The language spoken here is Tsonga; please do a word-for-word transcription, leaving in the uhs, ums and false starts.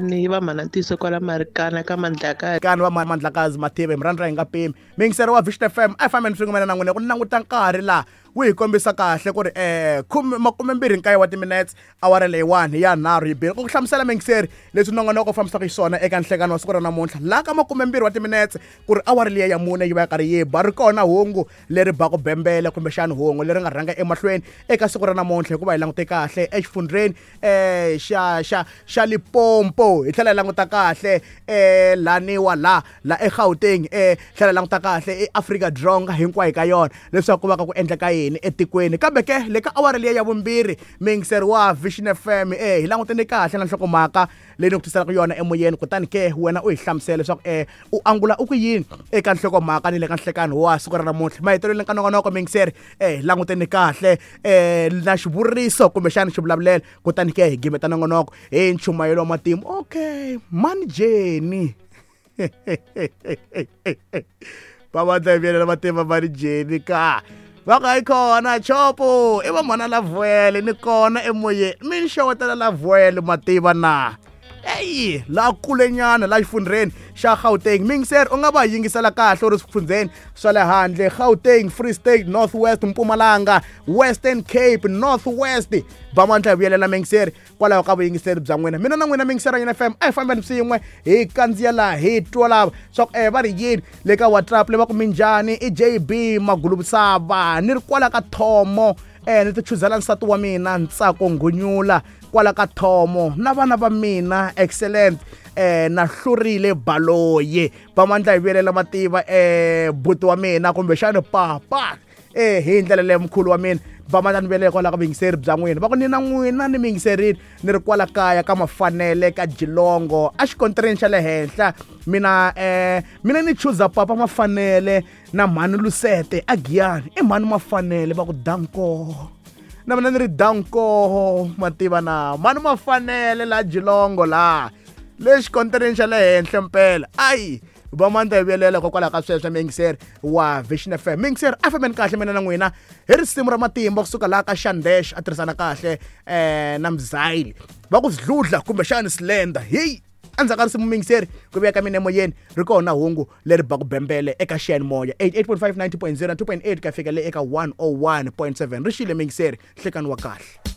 Ni va mhana ntiyiso kwala Marikana ka Mandlakazi. Kani va Mandlakazi Mathibe murhandza hi nga pimi. Miyingiseri wa Vision F M a hi fambeni swin'we mina na n'wina ku languta nkarhi laha wu hi kombisa kahle ku ri eh makumembirhi nkaye wa timinetse awara leyiwani ya nharhu yi bile. Ku hlamusela miyingiseri leswi nongonoko u fambisaka xiswona eka nhlekani wa siku ra namuntlha laha ka makumembirhi wa timinetse ku ri awara liya ya mune yi va yi karhi yi ba ri kona hungu leri baku bembele kumbexani hungu leri nga rhanga emahlweni eka siku ra namuntlha hikuva hi langute kahle exifundzheni eh xa xa xa Limpopo hi tlhela hi languta kahle eh laniwa la la eGauteng eh tlhela hi languta kahle eAfrika-Dzonga hinkwayo ka yona leswaku ku va ka ku endleka yini etikweni. Kambe ke le ka awara liya ya vumbirhi miyingiseri wa Vision F M eh hi langutene kahle na nhlokomhaka leyi ni ku tiselaka yona emoyeni, kutani ke wena u hi hlamusela leswaku eh u angula u ku yini eka nhlokomhaka ni le ka nhlekani wa siku ra namuntlha. Mahetelelweni ka nongonoko miyingiseri eh hi langutene kahle eh na xivuriso kumbexana xivulavulelo, kutani ke hi gimeta nongonoko hi nchumayelo wa matimu. Okay, mani Jenny va vandla hi vuyelela matimba mani Jenny ka va nga yi kona chopo i va mhana Lavuele ni kona emoyeni mi ni xewetela Lavuele mativa na eyi la kulenyana la xifundzheni xa Gauteng. Miyingiseri u nga va yingisela kahle u ri swifundzheni swa le handle Gauteng, Free State, North West, Mpumalanga, Western Cape, North West. Va mandla hi vuyelela miyingiseri kwalaho ka vuyingiseri bya n'wina. Mina na n'wina miyingiseri ya F M a hi fambeni swin'we hi kandziya laha hi twa lava swa ku eh va ri yini le ka WhatsApp le va ku minjhani i J B Magulubusava ni ri kwala ka Thomo eh ni ti chuzela nsati wa mina Ntsako Ngunyula kwala ka Thomo na vana va mina excellent eh na hlurile Baloyi. Va mandla hi vuyelela mativa eh buti wa mina kumbexana papa eh hi ndlela leyi mkhulu wa mina va mandla ni vuyelela kwala ka vuyingiseri bya n'wina. Va ku ni na n'wina ni miyingiserini ni ri kwala kaya ka Mafanele ka Jilongo a xikontireni xa le henhla mina eh mina ni chuza papa Mafanele na mhani Lusete a Giyani. I mhani Mafanele va ku danko na mina ni ri danko mativa na mhani Mafanele la Jilongo la le xikontireni xa le henhla mpela. Ayi va mandla hi vuyelela hikokwalaho ka sweswo miyingiseri wa Vision F M. Miyingiseri a fambeni kahle mina na n'wina hi risimu ra matimba kusuka laha ka Shandesh a tirhisana kahle eh na Mzayili va ku Sidludla kumbexana Slender. Heyi endzhaku ka risimu miyingiseri ku vuya ka mina emoyeni ri kona hungu leri baku bembele eka xiyanimoya eighty-eight point five, ninety point zero, two point eight ka fika le eka one oh one point seven. Ri xile miyingiseri nhlekani wa kahle.